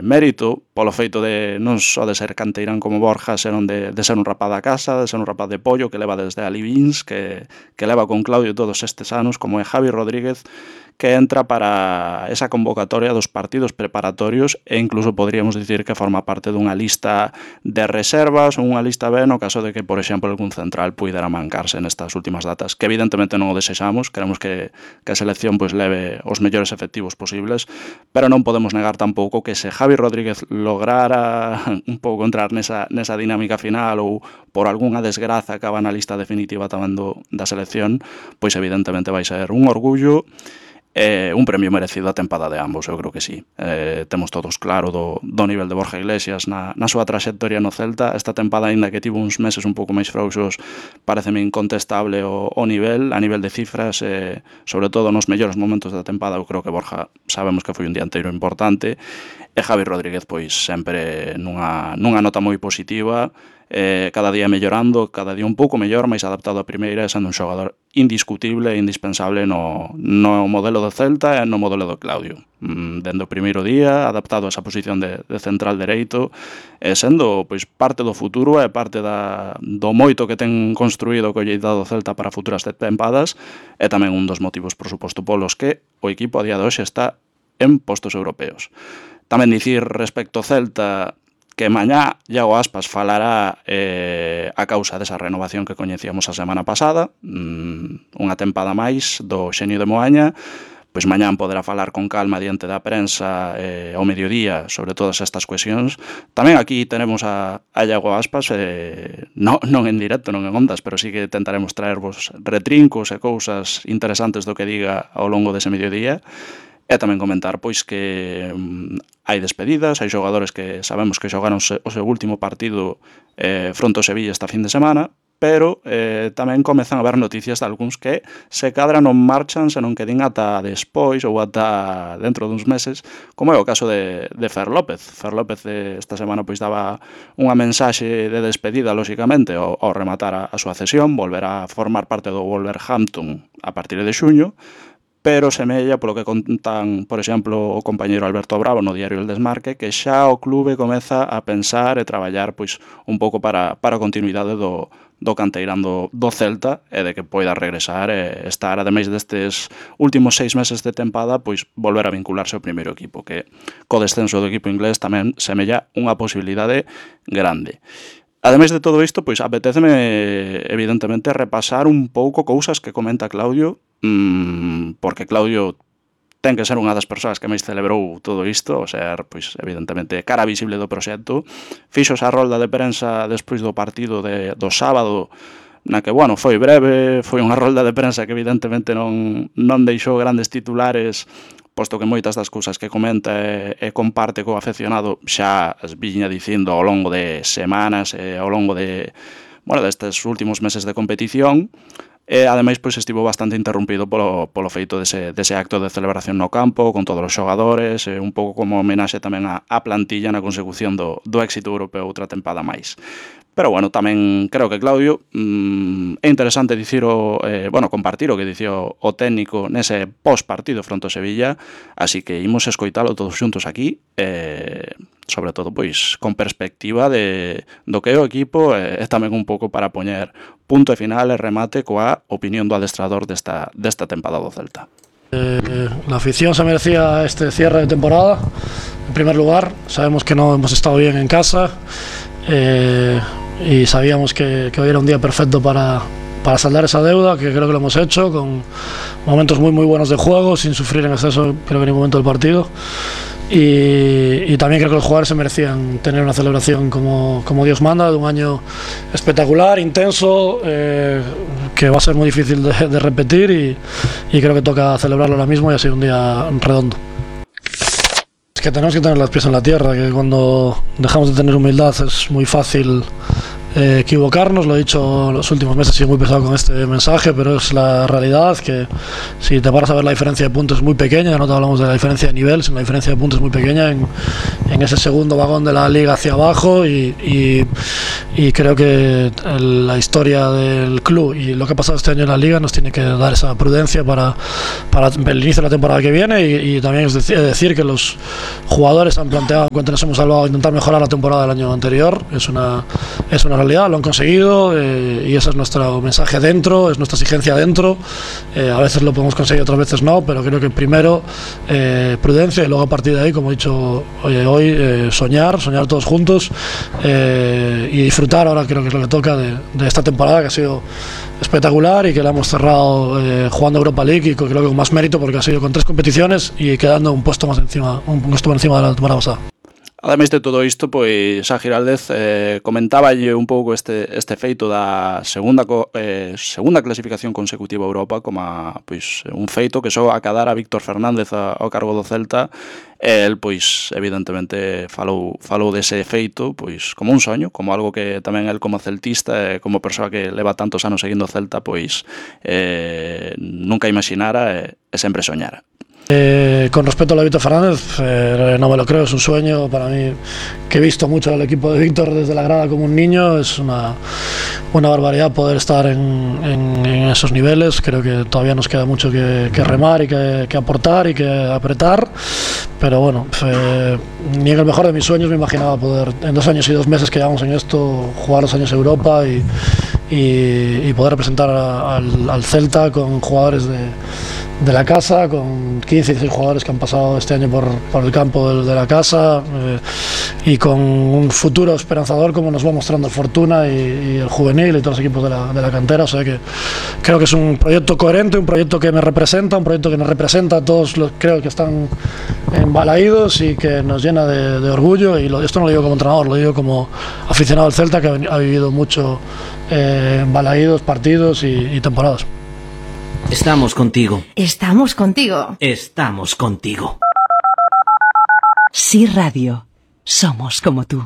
mérito polo feito de non só de ser canteirán como Borja, senón de ser un rapaz da casa, de ser un rapaz de pollo que leva desde ali Vins, que leva con Claudio todos estes anos, como é Javi Rodríguez, que entra para esa convocatoria dos partidos preparatorios e incluso podríamos dicir que forma parte dunha lista de reservas ou unha lista B no caso de que, por exemplo, algún central puidera mancarse nestas últimas datas, que evidentemente non o desexamos, queremos que a selección pois leve os mellores efectivos posibles, pero non podemos negar tampouco que se Javi Rodríguez lograra un pouco entrar nesa dinámica final ou por algunha desgraza acaba na lista definitiva tamén da selección, pois evidentemente vai ser un orgullo un premio merecido a tempada de ambos, eu creo que sí. Temos todos claro do nivel de Borja Iglesias na súa traxectoria no Celta. Esta tempada, aínda que tivo uns meses un pouco máis frouxos, pareceme incontestable o nivel, a nivel de cifras, sobre todo nos mellores momentos da tempada. Eu creo que Borja sabemos que foi un dianteiro importante, e Javi Rodríguez pois sempre nunha nota moi positiva, cada día mellorando, cada día un pouco mellor, máis adaptado a primeira, sendo un xogador indiscutible e indispensable no modelo do Celta e no modelo do Claudio. Dende o primeiro día, adaptado a esa posición de central dereito, sendo pois parte do futuro e parte do moito que ten construído o colleitado do Celta para futuras tempadas, e tamén un dos motivos, por suposto, polos que o equipo a día de hoxe está en postos europeos. Tamén dicir respecto ao Celta que mañá Iago Aspas falará a causa desa renovación que coñecíamos a semana pasada, unha tempada máis do xenio de Moaña, pois mañán poderá falar con calma diante da prensa ao mediodía sobre todas estas cuestións. Tamén aquí tenemos a Iago Aspas, non en directo, non en ondas, pero sí que tentaremos traervos retrincos e cousas interesantes do que diga ao longo dese mediodía. E tamén comentar pois que hai despedidas, hai xogadores que sabemos que xogaron o seu último partido fronte ao Sevilla esta fin de semana, pero tamén comezan a haber noticias de algúns que se cadra non marchan, senón que din ata despois ou ata dentro duns meses, como é o caso de Fer López. Fer López esta semana pois daba unha mensaxe de despedida, lóxicamente, ao rematar a súa cesión, volverá a formar parte do Wolverhampton a partir de xuño, pero semella, polo que contan, por exemplo, o compañeiro Alberto Bravo no diario El Desmarque, que xa o clube comeza a pensar e traballar pois un pouco para a continuidade do canteirán do Celta e de que poida regresar e estar, ademais destes últimos 6 meses de tempada, pois volver a vincularse ao primeiro equipo, que co descenso do equipo inglés tamén semella unha posibilidade grande. Ademais de todo isto, pois apetéceme evidentemente repasar un pouco cousas que comenta Claudio, porque Claudio ten que ser unha das persoas que máis celebrou todo isto, o ser, pois, evidentemente, cara visible do proxecto. Fixo esa rolda de prensa despois do partido do sábado, na que, bueno, foi breve, foi unha rolda de prensa que evidentemente non deixou grandes titulares, posto que moitas das cousas que comenta e comparte co afeccionado xa as viña dicindo ao longo de semanas e ao longo destes últimos meses de competición. E ademais pois estivo bastante interrompido polo feito dese acto de celebración no campo con todos os xogadores, un pouco como homenaxe tamén á plantilla na consecución do éxito europeo outra tempada máis. Pero bueno, tamén creo que Claudio é interesante compartir o que dicía o técnico nese post-partido fronte ao Sevilla, así que imos escoitalo todos xuntos aquí, sobre todo pois con perspectiva do que é o equipo e tamén un pouco para poñer punto e final e remate coa opinión do adestrador desta tempada do Celta. La afición se merecía este cierre de temporada. En primer lugar, sabemos que no hemos estado bien en casa y sabíamos que hoy era un día perfecto para saldar esa deuda, que creo que lo hemos hecho con momentos muy muy buenos de juego, sin sufrir en exceso creo que en ningún momento del partido. Y también creo que los jugadores se merecían tener una celebración como Dios manda, de un año espectacular, intenso, que va a ser muy difícil de repetir y creo que toca celebrarlo ahora mismo y ha sido un día redondo. Es que tenemos que tener los pies en la tierra, que cuando dejamos de tener humildad es muy fácil equivocarnos. Lo he dicho los últimos meses, he sido muy pesado con este mensaje, pero es la realidad, que si te paras a ver la diferencia de puntos es muy pequeña. No te hablamos de la diferencia de nivel, sino la diferencia de puntos es muy pequeña en ese segundo vagón de la liga hacia abajo y creo que la historia del club y lo que ha pasado este año en la liga nos tiene que dar esa prudencia para el inicio de la temporada que viene y también es decir que los jugadores han planteado en cuanto nos hemos salvado intentar mejorar la temporada del año anterior. Es una realidad, lo han conseguido y ese es nuestro mensaje dentro, es nuestra exigencia dentro. A veces lo podemos conseguir, otras veces no, pero creo que primero prudencia y luego a partir de ahí, como he dicho hoy, soñar todos juntos y disfrutar. Ahora creo que es lo que toca de esta temporada, que ha sido espectacular y que la hemos cerrado jugando Europa League y creo que con más mérito porque ha sido con 3 competiciones y quedando un puesto por encima de la temporada pasada. Ademais de todo isto, pois a Giraldez comentaballe un pouco este feito da segunda clasificación consecutiva a Europa como pois un feito que só acadar a Víctor Fernández ao cargo do Celta. El, pois, evidentemente falou dese feito pois como un soño, como algo que tamén el como celtista, como persoa que leva tantos anos seguindo o Celta, pois nunca imaginara e sempre soñara. Con respecto a lo de Víctor Fernández, no me lo creo, es un sueño para mí, que he visto mucho al equipo de Víctor desde la grada como un niño. Es una barbaridad poder estar en esos niveles. Creo que todavía nos queda mucho que remar y que aportar y que apretar, pero bueno, ni en el mejor de mis sueños me imaginaba poder, en 2 años y 2 meses que llevamos en esto, jugar los años Europa y poder representar al Celta con jugadores de la casa, con 15 y 16 jugadores que han pasado este año por el campo de la casa y con un futuro esperanzador como nos va mostrando el Fortuna y el Juvenil y todos los equipos de la cantera. O sea que creo que es un proyecto coherente, un proyecto que me representa, un proyecto que nos representa a todos los creo que están embalaídos y que nos llena de orgullo. Y esto no lo digo como entrenador, lo digo como aficionado al Celta que ha vivido mucho embalaídos, partidos y temporadas. Estamos contigo. Estamos contigo. Estamos contigo. Sí Radio. Somos como tú.